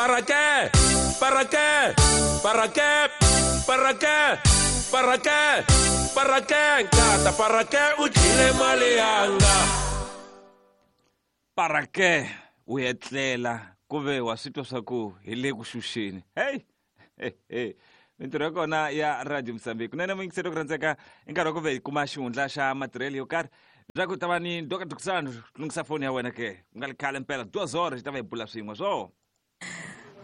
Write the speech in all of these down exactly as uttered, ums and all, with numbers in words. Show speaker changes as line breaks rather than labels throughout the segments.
¿Para qué? ¿Para qué? ¿Para qué? ¿Para qué? ¿Para qué? ¿Para qué? Nkata, ¿para qué? Uchile malianga.
¿Para qué? Uyetlela kuve wa switwa swa ku hi le ku xuxeni. Hey! Hey, hey. Mintirho ya kona ya Radio Mozambique. Kunene muyingiseri ku rhandzeka i nkarhi wa ku ve hi kuma xihundla xa matirhelo yo karhi. Leswaku ta va ni Doka Dukusano lunghisa foni ya wena ke. Ku nga ri khale mpela duas horas hi ta va hi bula swin'we swo.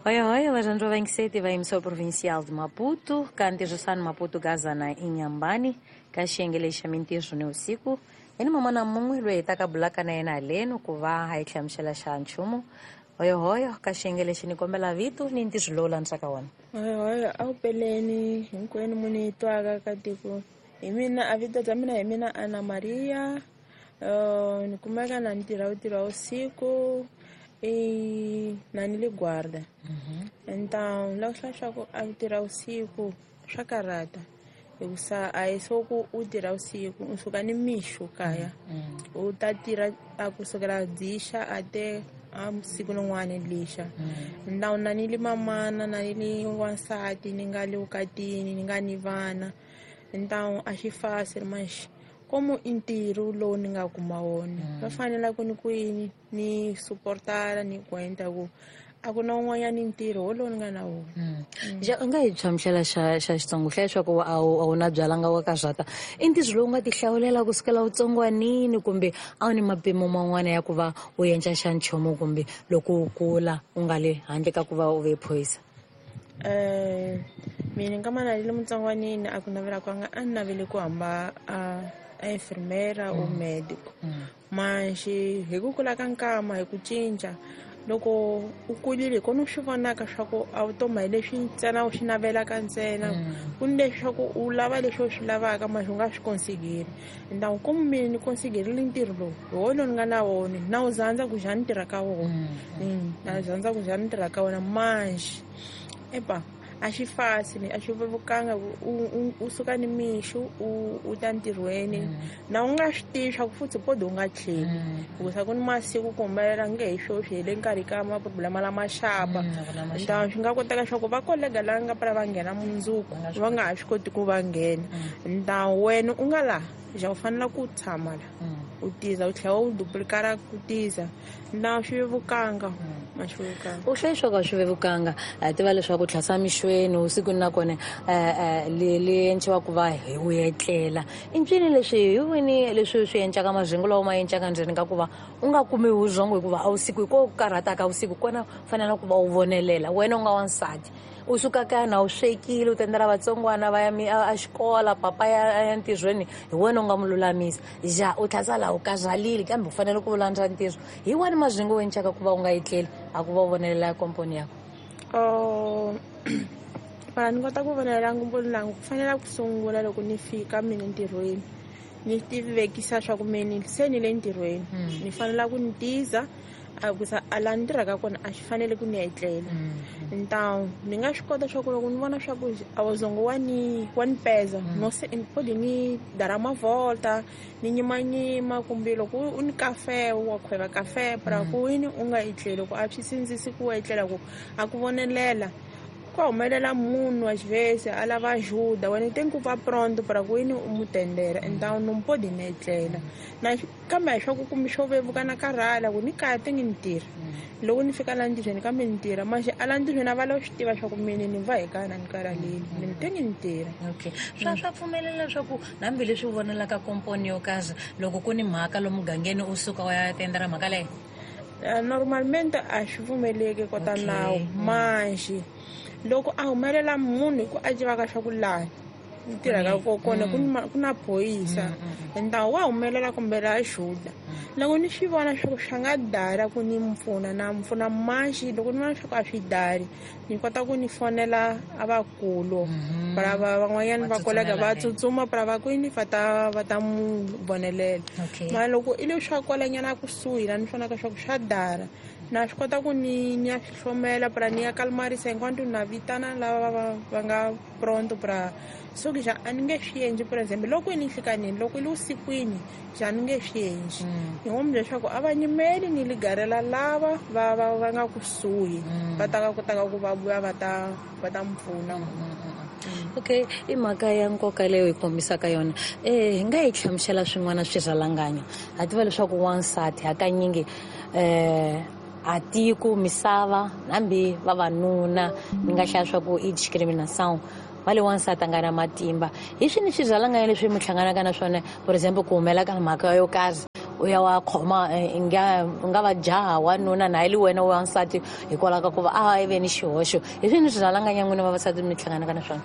Oi, oi, Alejandro Venkseti va emissora provincial de Maputo, kanti Maputo Gazana Inhambane, ka xiyenge xa mintirho ni usiku. Yena mamana mun'we loyi hi taka bulaka na yena haleno ku va hi hlamusela xa nchumu. Oi, oi, ka xiyenge lexi ni kombela vito ni ntirho lowu landzaka wona.
Oi, oi, a wu peleni hinkwenu mu ni twaka ka tiko. Hi mina a vito bya mina hi mina Ana Maria. Uh, ni kumeka na ni tirha wu tirha usiku. E na ni le guarda. Então, lá swa ku a tirha usiku swa karata. Hikusa a hi swo ku u tirha usiku u suka ni mixo kaya. U ta tirha a kusukela dzixa a te a siku rin'wana lixa. Então na ni le mamana na ni le wansati ni nga le vukatini ni nga ni vana. Então a xi fácil mas como i ntirho lowu ni nga kuma wona va fanele ku ni ku yini ni suportara ni ku ku a ku na un'wanyani ntirho wolowo ni nga na wona.
Ja u nga hi hlamusela xa xa Xitsongo hlaya leswaku a wu a wu na byalanga wa ka zwata i ntirho lowu nga ti hlawulela kusukela utsongwanini kumbe a wu ni mapimo man'wana ya ku va u endla xa nchumu kumbe loko u kula u nga le handle ka ku va u ve phorisa?
Eh mina nga mana le mutsongwanini a ku navela kwanga a ni navele ku hamba a a enfermeira ou médico. Mas hi ku kula ka nkama hi ku cinca loko u kulile kona u swi vonaka swa ku a vutomi hi leswi ntsena u swi navelaka ntsena ku ni leswaku u lava leswi u swi lavaka mas u nga swi konsigeri. Então como mina ni konsigerile ntirho lowu hi wona ni nga na wona na wu zandza ku ja ni tirha ka wona. Na zandza ku ja ni tirha ka wona mas epa a xi fácil a xi vevukanga u u suka ni mixo u u ta ntirhweni na u nga swi tivi swa ku futhi podi u nga tlheli hikusa ku ni masiku ku humelela nge hi sweswi hi le nkarhi ka maproblema lama xapa. Então swi nga koteka swa ku va kolega lava nga pfala va nghena mundzuku va nga ha swi koti ku va nghena. Então wena u nga laha ja u fanele ku tshama la u tiza u tlhela u duplicara ku tiza. Então swi vevukanga ma swi vevukanga.
U hlaya leswaku a swi vevukanga hi tiva leswaku tlhasa mixweni usiku na kona le le endliwa ku va hi u etlela i ncini leswi hi wini leswi swi endlaka mazingo lawa ma endlaka ndzeni ka ku va u nga kumi vurhongo hikuva a usiku hi ko karhataka usiku kona fanele ku va u vonelela wena u nga wansati u suka kaya na u swekile u tendela vatsongwana va ya a xikola papa ya ya ntirhweni hi wena u nga mu lulamisa ja u tlhasa laha u karhalile kambe u fanele ku landza ntirho hi wani mazingo u endlaka ku va u nga etleli a ku va u vonelela komponi yakho.
Oh para ni kota ku vonelela ngomponi langu ku fanele ku sungula loko ni fika mina ntirhweni ni tivekisa swa ku mina se ni le ntirhweni ni fanele ku ni tiza a kusa a la ni tirhaka kona a xi fanele ku ni etlela. Então ni nga swi kota swa ku loko ni vona swa ku a wuzongo wa ni wa ni peza no se podi ni dar uma volta ni nyimanyima kumbe loko u ni kafe wa khweva kafe para ku yini u nga etleli ku a swi sindzisi ku etlela ku a ku vonelela ku humelela munhu às vezes a lava ajuda wena tem ku va pronto para ku yini u mu tendela. Então não pode ni etlela na kambe a swa ku kumbe xo vevuka na karhala ku ni kaya te ngi ni tirha loko ni fika la ntirhweni kambe ni tirha mas a la ntirhweni a va lava swi tiva swa ku mina ni va hi kaya na ni karhalile ni te ngi ni tirha.
Okay swa swa pfumelela leswaku hambileswi u vonelaka komponi yo karhi loko ku ni mhaka lomu mugangeni u suka u ya tendela mhaka leyo?
Normalmente a swi pfumeleki kota nawu mas loko a humelela munhu hi ku a tivaka swa ku laha ni tirhaka kona ku ku na phorisa então wa humelela kumbe la ajuda loko ni swi vona swa ku swi nga dara ku ni mpfuna na mpfuna mas loko ni vona swa ku a swi dari ni kota ku ni fonela a vakulu para va van'wanyana va kolega va tsutsuma para va ku yini va ta va ta mu vonelela. Ma loko i leswi swa kwalanyana kusuhi la ni vonaka swa ku swa dara Na swi kota ku ni ni ya swi hlomela pra ni ya kalmarisa enquanto na vitana lava va va nga pronto pra so ke ja a ni nge swi endli. For example, loko i ni nhlikanini, loko i le vusikwini, ja ni nge swi endli. Ni ngo mi leswaku a va nyimeli ni ligarela lava va va va nga kusuhi va ta ka kotaka ku va vuya va ta va ta mi pfuna.
Okay, i mhaka ya nkoka leyo hi kombisaka yona. Eh hi nga yi hlamusela swin'wana swirhalanganyo. Ha tiva leswaku wansati hakanyingi eh a tiko misava hambi vavanuna mi nga hlaya swa ku i discrimination va le wansati a nga na matimba. Hi swini swirhalanganyo leswi mi hlanganaka na swona, for example ku humela ka mhaka yo karhi u ya wa khoma i nga u nga va jaha wanuna na hi le wena wansati hikwalaho ka ku va a ve ni xihoxo. Hi swini swirhalanganyo n'wina vavasati mi hlanganaka na swona?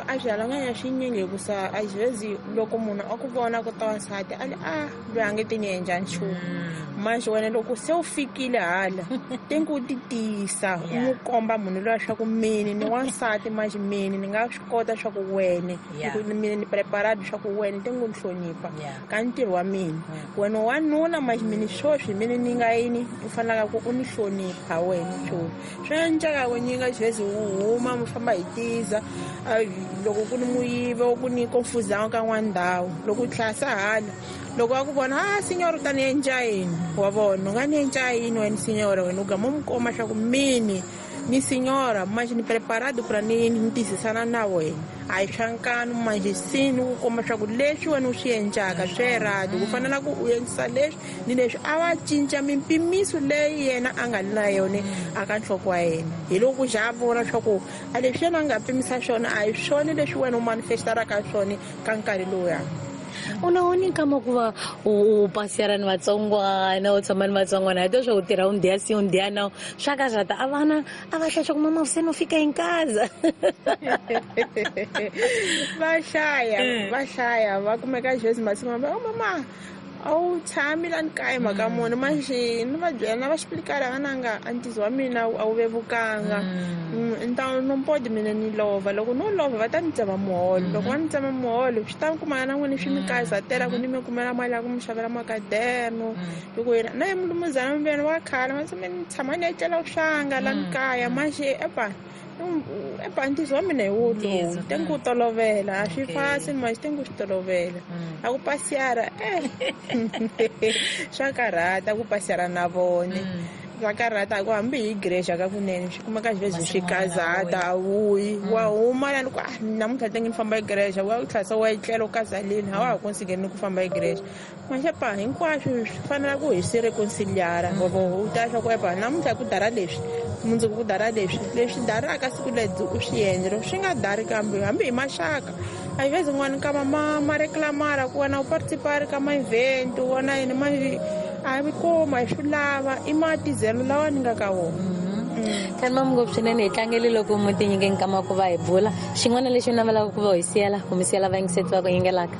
A swirhalanganyo swinyingi hikusa a xivezi loko munhu a ku vona ku ta wansati a li a loyi a nge ti ni endla nchumu. Manje wena loko se u fikile hala tengi u ti tiyisa u n'wi komba munhu luya swa ku mini ni wansati manje mini ni nga swi kota swa ku wene mini ni preparado swa ku wene tengi u ni hlonipha ka ntirho wa mina. Wena wanuna manje mini swoswi mini ni nga yini u fanelaka ku u ni hlonipha wena swoswi. Swi endleka ku nyinga xivezi u huma mi famba hi tiza loko ku ni muyivi ku ni confusão ka n'wana ndhawu loko u tlhasa hala loko va ku vona a signora u ta ni endla yini wa vona u nga ni endla yini wena signora wena u gama u mi komba swa ku mini ni signora manje ni preparado pra ni ni tiyisisana na wena a hi swa nkanu manje se ni ku komba swa ku leswi wena u swi endlaka swi erado ku fanela ku u endlisa leswi ni leswi. A va cinca mimpimiso leyi yena a nga li na yona a ka nhloko wa yena hi loko ku za a vona swa ku a leswi yena a nga pimisa swona a hi swona leswi wena u manifestaraka swona ka nkarhi lowuya.
U na wona nkama ku va u pasiyara ni vatsongwana u tshama ni vatsongwana hi to swa u tirha un dia si un dia não swa ka zata a vana a va hlaya swa ku mama se no fika em casa.
Va hlaya va hlaya va kumeka xivezi masiku va oh mama a wu tshami la ni kaya mhaka muni manje ni va byela na va xiplikala vananga a ntizo wa mina a wu vevukanga então não pode mina ni lova loko no lova va ta ni tsema muholo loko va ni tsema muholo swi ta kumana na n'wini swi mi kazatela ku ni mi kumela mali ya ku mi xavela makaderno loko yena na ye mulumuzana mi wa khala ma ni tshama ni etlela swanga la ni kaya manje epa epa ntizo wa mina hi wo lowu tengi ku tolovela a swi fasi manje tengi ku swi tolovela a ku pasiyara eh swa karhata ku pasiyara na vone swa karhata ku hambi hi igreja ka kunene swi kumeka xivezi swi kazata a wuyi wa huma lani ku ah namuntlha tengi ni famba igreja wa u tlhasa wa etlela u kazaleni a wa ha konsigeni ku famba igreja manje pa hinkwaswo swi fanela ku hi swi reconciliara u ta swa ku epa namuntlha ku dara leswi mundzuku ku dara leswi leswi daraka siku ledzi u swi endla loko swi nga dari kambe hambi hi maxaka a hi vezi n'wana nkama ma ma reclamara ku wena u participari ka ma-event wona yini manje a hi kuma hi swi lava i matizelo lawa ni nga ka wona.
Kani ngopfu swinene hi tlangele loko mi ti nyike nkama ku va hi bula xin'wana lexi u navelaka ku va hi siyela ku mi siyela vayingiseti va ku yingelaka.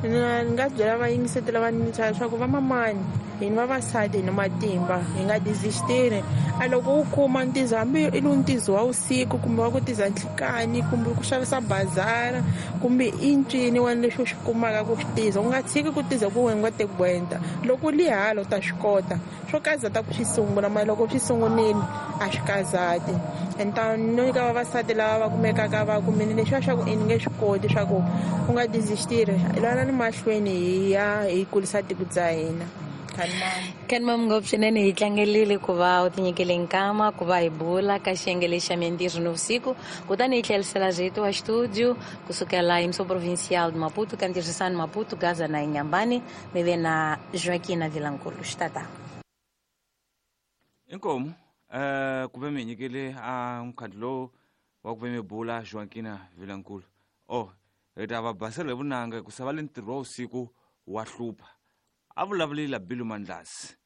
Ni nga byela vayingiseti lava ni leswaku vamamani hina vavasati hi na matimba hi nga desistiri a loko u kuma ntizo hambi i lu ntizo wa vusiku kumbe wa ku tiza nhlikani kumbe ku xavisa bazara kumbe i ncini wena leswi u swi kumaka ku swi tiza u nga tshiki ku tiza ku wena nga te gwenta loko u li hala u ta swi kota swo kazata ku swi sungula mara loko swi sungunile a swi kazati. Então no nyika vavasati lava va kumekaka va kumini leswiya swa ku i ni nge swi koti swa ku u nga desistiri lwana ni mahlweni hi ya hi kulisa tiko bya hina.
Kani mama ngopfu swinene hi tlangelile ku va u tinyikele nkama ku va hi bula ka xiyenge lexi xa mintirho nivusiku kutani hi tlherisela rito wa xitudio kusukela emissão provincial de Maputo ka ntirhisano Maputo Gaza na Inhambane mi ve na Joaquina Vilankulu xitata.
Inkomu eh ku ve mi nyikele a mukhandlu lowu wa ku ve mi bula Joaquina Vilankulu oh hi ta va basela hi vunanga ku sava le ntirho wa vusiku wa hlupha a vulavulile Bilu Mandlasi.